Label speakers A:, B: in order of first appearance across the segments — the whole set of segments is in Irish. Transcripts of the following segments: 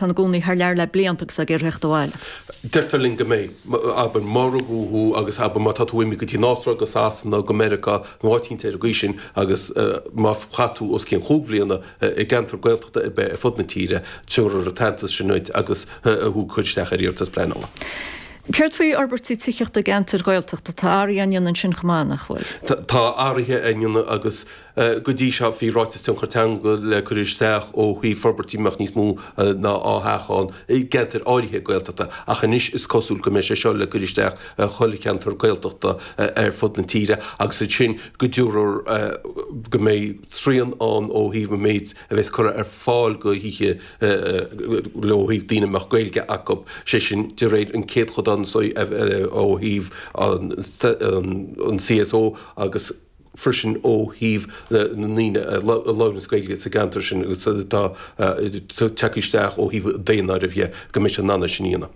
A: atá ina gcónaí thar lear le blianta agus ag iarraidh theacht abhaile?
B: Deirtear linn go mbeidh. Abair, má rugadh thú agus abair má tá tú imithe go dtí an Astráil, go Sasana, go Meiriceá nó áit éicint ar an gcaoi sin agus má chaith tú os cionn chúig bhliana i gceantar Gaeltachta ar bith ar fud na tíre, tabharfar an t-aitheantas sin duit agus thú ag cur isteach ar iarratas pleanála.
A: Céard faoi fhorbairtí tithíochta i gceantair Ghaeltachta? Tá athruithe á ndéanamh ansin chomh maith, nach bhfuil?
B: Tá athruithe á ndéanamh agus go dtí seo bhí ráiteas tionchar teanga le cur isteach ó thaobh forbairtí a mbeadh níos mó ná 2 theach ann i gceantair áirithe Gaeltachta ach anois is cosúil go mbeidh sé seo le cur isteach i chuile cheantar Gaeltachta ar fud na tíre agus ansin go dtabharfar go mbeidh srian ann ó thaobh an méid a bheas curtha ar fáil go thithe ó thaobh daoine a mbeadh Gaeilge acu, sé sin de réir an céadchodán ó thaobh an CSO agus freisin ó thaobh na ndaoine a labhraíonns Gaeilge sa gceantar sin agus atá tagtha isteach ó thaobh daonáirimh dhe go mbeidh siad in ann é sin a dhéanamh.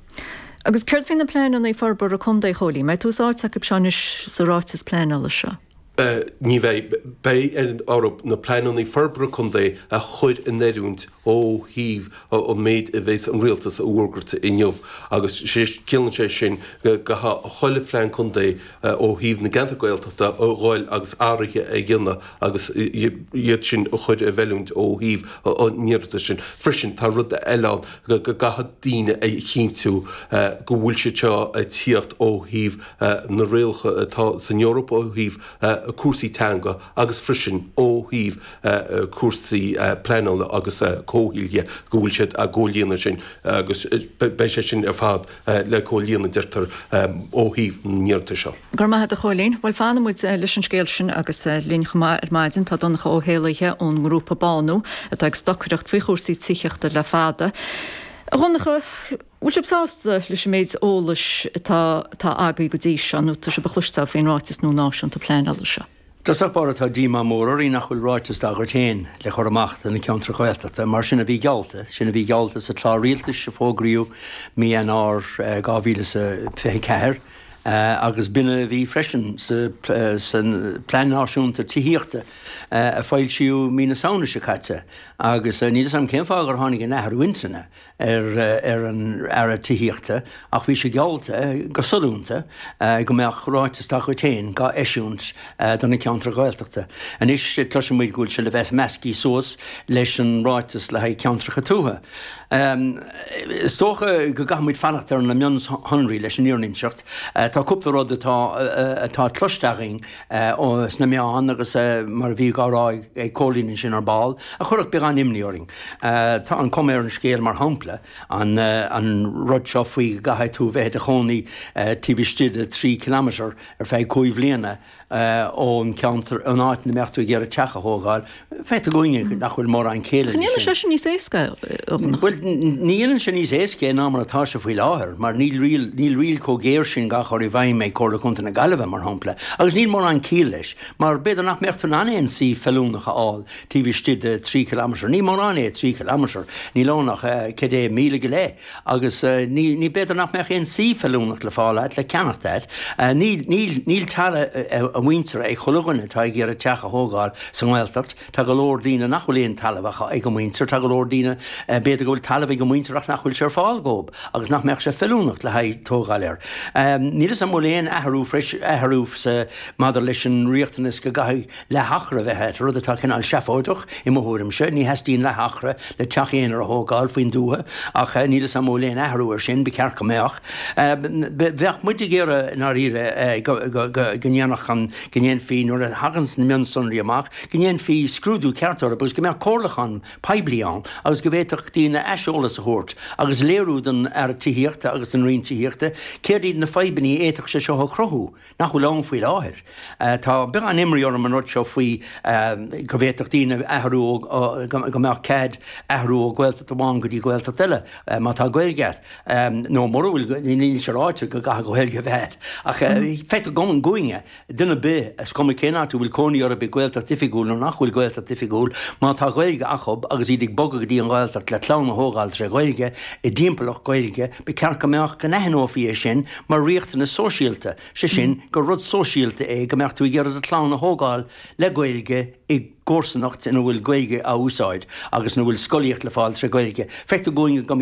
A: Agus céard faoi na pleananna forbartha contae, a Chóilín? An mbeidh tús áite acu seo anois sa ráiteas pleanála seo?
B: Ní bheidh. Beidh orthu na pleananna forbartha contae a chur in oiriúint ó thaobh an méid a bheas an rialtas a fhógairt inniu agus ciallaíonn sé sin go gcaithfidh chuile phlean contae ó thaobh na gceantar Gaeltachta a dhul agus athruithe a dhéanamh agus iad sin a chur i bhfeiliúint ó thaobh an iarratais sin. Freisin tá rud eile ann go gcaithfidh daoine a chinntiú go bhfuil siad seo ag tíocht ó thaobh na rialacha atá san Eoraip ó thaobh cúrsaí teanga agus freisin ó thaobh cúrsaí pleanála agus comhshaoil dhe, go bhfuil siad á gcomhlíonadh sin agus beidh sé sin ar fad le comhlíonadh, deirtear, ó thaobh na n-iarratas seo.
A: Go raibh maith agat a Chóilín. Bhuel fanfaidh muid leis an scéal sin agus linn chomh maith ar maidin tá Donncha Ó hÉallaithe ón ngrúpa Bánú atá ag stocaireacht faoi chúrsaí tithíochta le fada. A Dhonncha, Bhfuil sibh sásta leis an méid eolais atá atá agaibh go dtí seo nó tá sibh a chloisteáil faoin ráiteas nua náisiúnta pleanála seo?
C: I dtosach báire tá díomá mór orainn nach bhfuil ráiteas dá gcuid féin le cur amach do na ceantair Ghaeltachta mar sin a bhí geallta, sin a bhí geallta sa chlár rialtais a fógraíodh mí Eanáir 2024 agus b'in a bhí freisin sa Plean Náisiúnta Tithíochta a foilsíodh mí na Samhna seo caite agus níl 'fhios a'm cén fáth gur tháinig an athrú intinne ar an Aire Tithíochta ach bhí sé geallta go sollúnta go mbeadh ráiteas dá chuid féin dhá eisiúint do na ceantair Ghaeltachta. Anois cloiseann muid go bhfuil sé le bheith measctha suas leis an ráiteas le haghaidh ceantracha tuaithe. Is dócha go gcaithfidh muid fanacht ar na mionshonraí leis an fhírinne a inseacht. Tá cúpla rud atá atá cloiste againn sna meáin agus mar a bhí á rá ag Cóilín ansin ar ball, a chuirfeadh beagán imní orainn. Tá an chuma ar an scéal, mar shampla, an rud seo faoi go gcaithfidh tú bheith i do chónaí taobh istigh de 3 kilometre ar feadh cúig bhliana ón cheantar, ón áit ina mbeadh tú ag iarraidh teach a thógáil. Feictear dúinne nach bhfuil mórán céille
A: leis sin. Ní dhéanann sé sin níos éasca é, a Dhonncha?
C: Bhuel, ní dhéanann sé níos éasca é ná mar atá sé faoi láthair, mar níl riail, níl riail chomh géar sin dhá chur i bhfeidhm ag Comhairle Contae na Gaillimhe, mar shampla, agus níl mórán ciall leis, mar b'fhéidir nach mbeadh tú in ann aon suíomh feiliúnach a fháil taobh istigh de 3 kilometre. Ní mórán é 3 kilometre, níl ann ach cad é míle go leith, agus ní, ní, b'fhéidir nach mbeadh aon suíomh feiliúnach le fáil agat, le ceannacht agat. Níl, níl, níl talamh a mhuintire ag chuile dhuine atá ag iarraidh teach a thógáil sa nGaeltacht. Tá go leor daoine nach bhfuil aon talamh acu ag a muintir, tá go leor daoine, b'fhéidir go bhfuil talamh ag a muintir ach nach bhfuil sé ar fáil dhóibh agus nach mbeadh sé feiliúnach le haghaidh tógáil air. Níl 'fhios a'm an bhfuil aon athrú freis, athrú sa, maidir leis an riachtanas go gcaithfidh leath-acra a bheith agat, rud atá cineál seafóideach i mo thuairimse. Ní theastaíonn leath-acra le teach aonair a thógáil faoin dtuath ach níl 'fhios a'm an bhfuil aon athrú ar sin, ba cheart go mbeadh. Bheadh muid ag iarraidh i ndáiríre go ndéanfadh an, go ndéanfaí, nuair a thaganns na mionsonraí amach, go ndéanfaí scrúdú ceart orthu agus go mbeadh comhairliúchán poiblí ann agus go bhféadfadh daoine aiseolas a thabhairt agus léiriú don Aire Tithíochta agus don Roinn Tithíochta céard iad na fadhbanna a fhéadfadh sé seo a chruthú. nach bhfuil ann faoi láthair. Tá beagán imní orm an rud seo faoi go bhféadfadh daoine athrú ó, go mbeadh cead athrú ó Ghaeltacht amháin go dtí Gaeltacht eile má tá Gaeilge agat, nó mura bhfuil, níl sé ráite go gcaithfidh Gaeilge a bheith agat. Ach feictear dúinne, duine ar bith, is cuma cén áit a bhfuil cónaí orthu i Gaeltacht oifigiúil nó nach bhfuil Gaeltacht oifigiúil, má tá Gaeilge acu agus iad ag bogadh go dtí an Ghaeltacht le clann a thógáil tré Ghaeilge, i dtimpeallacht Gaeilge, ba cheart go mbeadh, go n-aithneofaí é sin mar riachtanas sóisialta, sé sin, gur rud sóisialta é go mbeadh tú ag iarraidh do chlann a thógáil le Gaeilge i gcomharsanacht ina bhfuil Gaeilge á úsáid agus ina bhfuil scolaíocht le fáil tré Ghaeilge. Feictear dúinn go.